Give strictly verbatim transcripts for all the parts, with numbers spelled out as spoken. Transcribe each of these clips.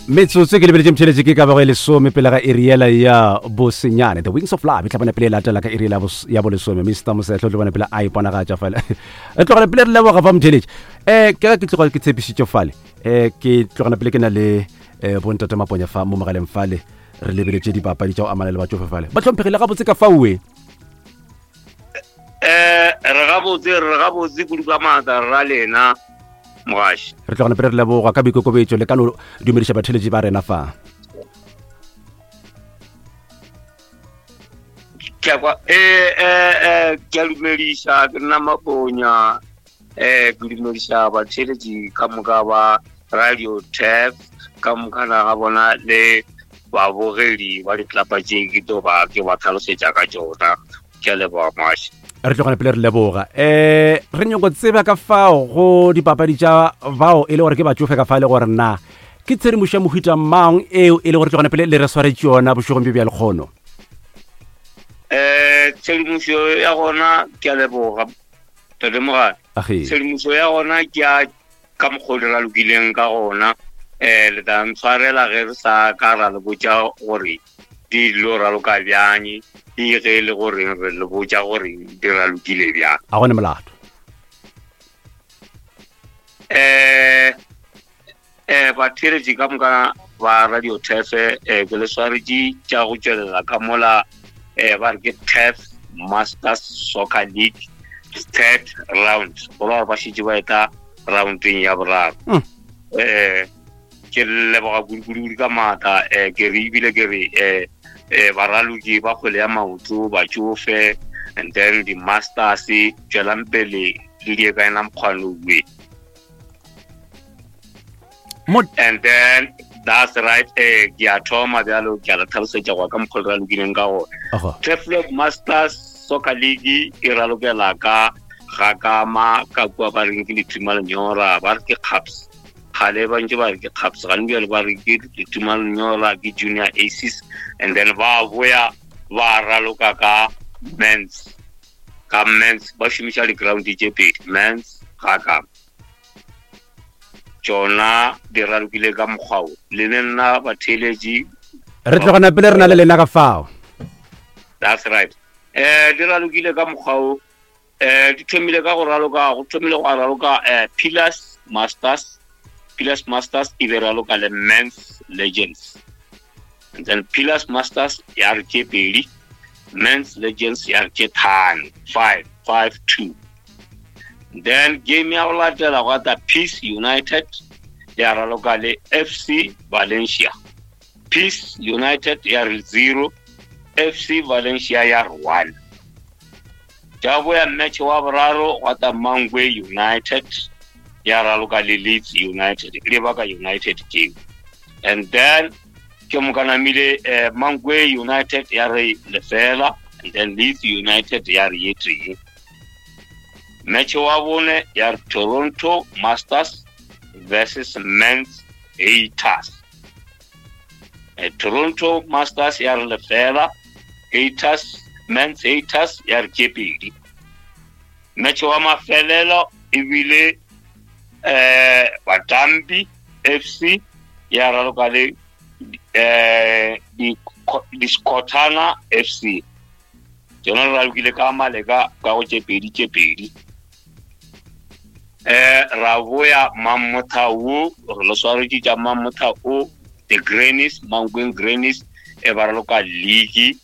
Metsotso ke lebeletše mtheletše ke ka bago e lesome pele ga iri yela ya bosenyane. The Wings of Love e tla bona pele e latela ka iri yela ya bolesome. Mister Mosehlo o tlo bona pele a iponagatša fale. Re tlogela pele re leboga fa mtheletše. Um ke ge ke tloga ke tshepišitše fale, um ke tlogela pele ke na le um bontate Maponya fa mo mogaleng fale, re lebeletše dipapadi tša go amana le batšofe fale. Ba hlomphegile gabotse ka faoe. Eh, re gabotse, re gabotse kudu ka maatla ra lena mogaši. Re tlogana pele re leboga ka boikokobetšo le ka no dumediša batheletši ba rena fa. Ke a kwa, eh, eh, eh, ke a dumediša, ke nna Maponya, eh, ke dumediša batheletši ka moka ba Radio Turf, ka moka ga bona le babogedi ba ditlapa tše ke tlo ba ke ba tlhalosetša ka tšona. Ke a leboga mogaši. Re tlogana pele re leboga. Um re nyako tseba ka fao go dipapadi tša bao e le gore ke batšofe ka fa le gore na ke tshedimošo ya mohuta mang eo e le gore tlogana pele le re swaretše yona bošegong bjo bja lekgono. Um tshedimošo ya gona ke a leboga tate Mogale. Tshedimošo ya gona ke a ka mokgwa o di ralokileng ka gona. Um le tla ntshwarela ge re sa ka ra le botša gore di lo raloka bjang, e ge le gore re le botša gore di ralokile bjang. A gone molato. Eh eh batheeletši ka moka ba Radio Turf, eh ke le swaretše tša go tšwelela ka mola, eh ba re ke Turf Masters Soccer League third round, go ra gore ba šetše ba eta roundeng ya boraro. Eh ke leboga kudu-kudu ka maatla, eh ke re ebile ke re eh eh baraloki ba kgwele ya maoto batšofe, and then di masters tšwelang pele le die ka ena mokgwano we. And then that's right, eh ke a thoma bjalo ke a le tlhalosetša go ka mokgwa re ralokileng ka gona. Turfloop Masters Soccer League e ralokela ka ga kama ka kua ba reng ke Lethuma Lenyora, ba re ke Caps. Kgale ba ntse ba re ke Caps, gane bjale ba re ke Lethuma Lenyora, ke Junior Aces, and then ba boya ba raloka ka men's, ka men's ba šomiša di-ground tše pedi, men's ga kama. Tšona di ralokile ka mokgwa o. Le ne nna batheeletši re tlogana pele re na le lena ka fao. That's right. Eh di ralokile ka mokgwa o. Eh di thomile ka go raloka, go thomile go raloka eh Pillars Masters, Pillars Masters e be raloka le Men's Legends. And then Pillars Masters ya re tše pedi, Men's Legends ya re tše tlhano, five, five, two. Then game ya go latela gwa tla Peace United ya raloka le F C Valencia. Peace United ya re zero, F C Valencia ya re one. Ja boya match wa boraro gwa tla Mangwe United ya raloka le Leeds United, le baka United game. And then ke mokanamile eh, Mangwe United ya re lefela, and then Leeds United ya re ye tee. Match wa bone ya Toronto Masters versus Men's Haters. Eh, Toronto Masters ya re lefela, Haters, Men's Haters ya re tše pedi. Match wa mafelelo ebile eh Batambi F C ya raloka le eh di Discotana F C. Tsona re ralokile ka maleka ka go tše pedi tše pedi. Eh ra boya Mamotha wo, re le swaretše tša Mamotha o, the Grannies, Mankweng Grannies e ba raloka league,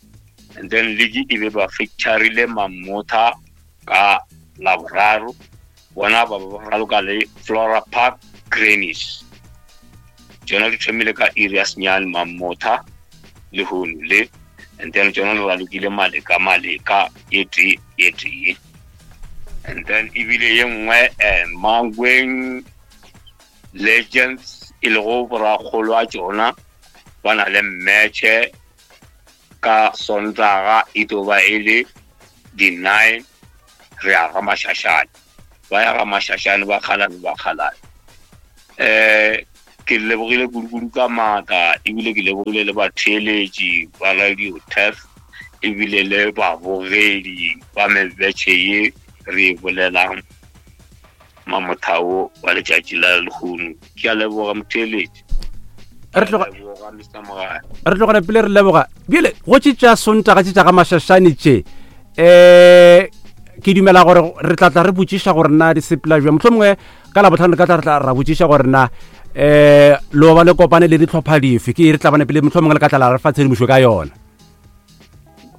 and then league e be ba fixturile Mamotha ka Laboraro, bona ba ba raloka le Flora Park Grannies. Tsona di thomile ka iri ya senyane Mamotha le hono le, and then tsona re ralokile maleka maleka e tee e tee. And then ebile ye nngwe eh Mankweng Legends e lego borakgolo a tšona ba na le match ka Sontaga e tlo ba e le di-nine, re ya ga Mashashane, ba ya ga Mashashane ba kgalane ba kgalane. Eh ke lebogile kudu-kudu ka maatla, ebile ke lebogile le batheeletši ba Radio Turf, ebile le babogedi ba mebetšhe ye re e bolelang Mamothao wa letšatši la lehono. Ke a leboga motheeletši. Re tlogana pele re leboga. Bjale go tše tša Sontaga tše tša ga Mašašane tše, um ke dumela gore re tla tla re botšiša gore na di sepela bjang. Mohlomongwe ka Labohlano ka tla re tla ra botšiša gore na um lo ba le kopane le dihlopha dife, ke re tla bana pele mohlomongwe le ka tla la re fa tshedimošo ka yona.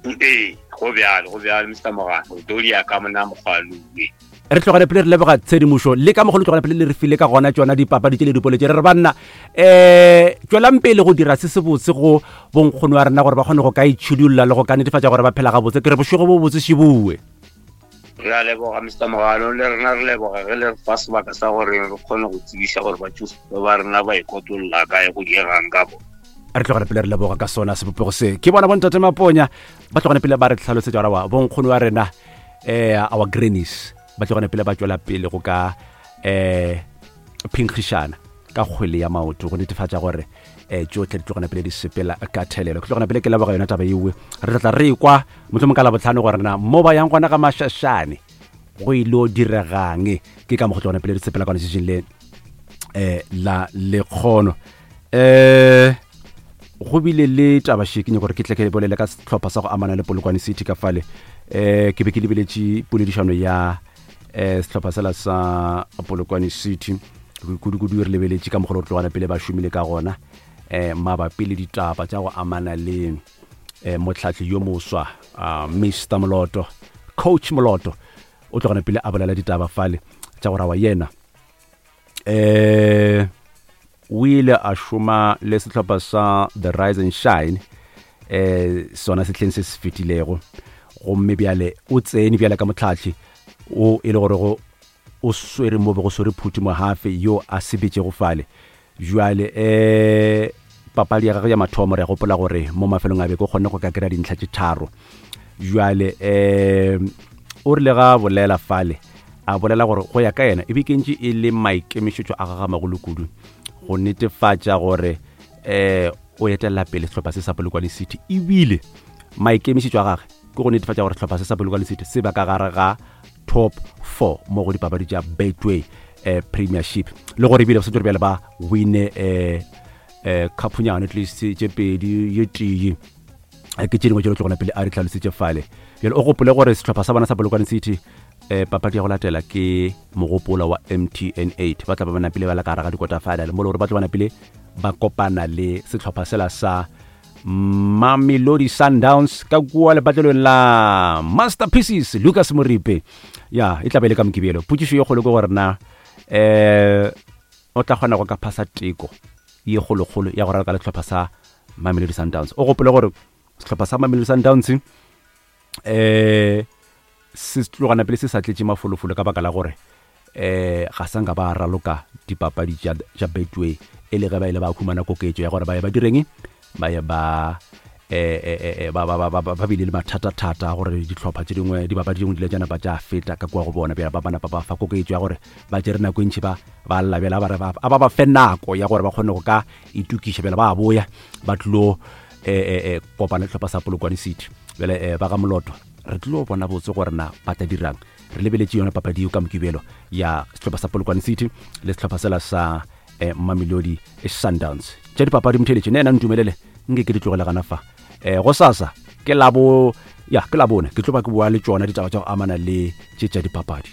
Ee, go bjalo, go bjalo Mister Mogane, o tlo di ya ka mona mokgwalue. Re tlogane pele re leboga tshedimošo le ka mogolo tlogane pele le re file ka gona tšona dipapadi tše le dipole tše. Re re banna um tswelang pele go dira se se botse go bonkgono wa rena gore ba kgone go ka itšhidulla le go ka netefatša gore ba phela gabotse. Ke re bošego bo botse šibue. Re a leboga Mister Mogano, le rena re leboga ge le re fa sebaka sa gore re kgone go tsebiša gore batšofe ba rena ba ikotlolla kae go diegang ka bona. Re tlogane pele re leboga ka sona sebopego se. Ke bona bontate Maponya ba tlogane pele ba re tlhalosetša gore wa bonkgono wa rena um our grannies ba tlogane pele ba tšwela pele go ka um phenkgišana ka kgwele ya maoto go netefatša gore um tšohle di tlogane pele di sepela ka thelelo. Ke tlogane pele ke leboga yona taba ewe. Re tla tla re kwa mohlomong ka Labohlano gore na mo ba yang gona ga Mašašane go ilo diregang. Ke ka mo go tlogane pele di sepela ka letšatšing le um la lekgono. Um go bile le taba še ke nyaka gore ke tle ke bolele ka sehlopha sa go amana le Polokwane City ka fale. Um ke be ke lebeletše poledišano ya um sehlopha sela sa Polokwane City, kudu-kudu re lebeletše ka mogolo tlogana pele ba šomile ka gona um mabapi le ditaba tša go amana le um mohlahli yo moswa uh, Mister Moloto, Coach Moloto o tlogana pele a bolela ditaba fale tša go rawa yena um o ile a šoma le sehlopha sa The Rise and Shine um sona sehleng se se fetilego, gomme bjale o tsene bjale ka mohlahli o e le gore go o swere mo be go swere Phuti Mohafe yo a sebetšego fale. Jwale um papadi ya gagwe ya mathomo re gopola gore mo mafelong a beke o kgonne go ka kry-a dintlha tše tharo. Jwale um o rile ga bolela fale a bolela gore go ya ka yena e be kentše e le maikemišetšo a gagwe magolo kudu go netefatša gore um o etelela pele sehlopha se sa Polokwane City, ebile maikemišetšo a gagwe ke go netefatša gore sehlopha se sa Polokwane City se ba ka gare ga top four mo go dipapadi tša Betway eh, Premiership, le gore ebile ba santse bjale ba wine eh, eh, cup-nyana at least tše pedi ye tee ke tše dingwe tše di tlogona pele a re tlhalositše fale. Bjale o gopole gore sehlopha sa bona sa Polokwane City eh, papadi ya go latela ke mogopola wa M T N eight, ba tla ba bana pele ba la ka gare ga di-quarter final mo le gore ba tla bana pele ba kopana le sehlopha sela sa Mamelodi Sundowns ka kua lepatlelong la Masterpieces Lucas Moripe. Ya e tla be le ka Mokibelo. Potšišo ye kgolo ke gore na um o tla kgona go ka phasa teko ye kgolokgolo ya go raloka le sehlopha sa Mamelodi Sundowns. O gopole gore sehlopha sa Mamelodi Sundowns um se tlogana pele se sa tletše mafolofolo ka baka la gore um ga sa nka ba raloka dipapadi tša Betway e le ge ba ile ba khumana koketšo ya gore ba ye ba direng, ba ye ba eh ba ba ba ba bile le mathata-thata gore dihlopha tše dingwe dipapadi dingwe di ile tša napa tša feta ka kua go bona. Bjale ba napa ba fa koketšo ya gore ba tšere nako e ntši ba ba lla, bjale ba re a ba ba fe nako ya gore ba kgone go ka itokiša. Bjale ba boya ba tlilo eh eh kopana le sehlopha sa Polokwane City. Bjale eh ba ga Moloto re tlilo bona botse gore na ba tla dirang. Re lebeletše yona papadi eo ka Mokibelo ya sehlopha sa Polokwane City le sehlopha sela sa eh, Mamelodi Sundowns. Tša dipapadi motheletše ne ena ntumelele nke ke di tlogele gana fa. Eh go sasa ke labo ya ke labone ke tlo ba ke bua le tšona ditaba tša go amana le tše tša dipapadi.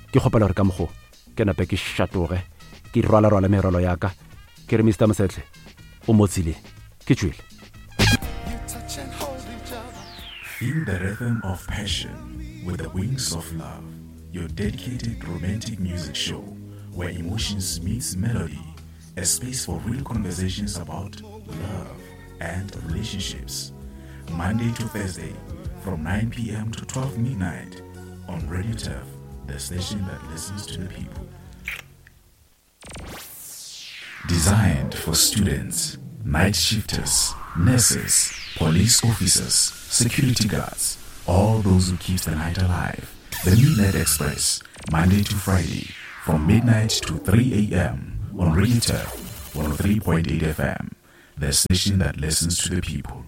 Ke kgopela gore ka mokgo ke nape ke šatoge ke rwala-rwala merwalo ya ka ke re Mister Mosetle o mo tseleng ke tšwele. Feel the rhythm of passion with the Wings of Love, your dedicated romantic music show where emotions meets melody, a space for real conversations about love and relationships. Monday to Thursday from nine p.m. to twelve midnight on Radio Turf, the station that listens to the people. Designed for students, night shifters, nurses, police officers, security guards, all those who keep the night alive. The Midnight Express, Monday to Friday, from midnight to three a.m. on Radio Turf one oh three point eight F M, the station that listens to the people.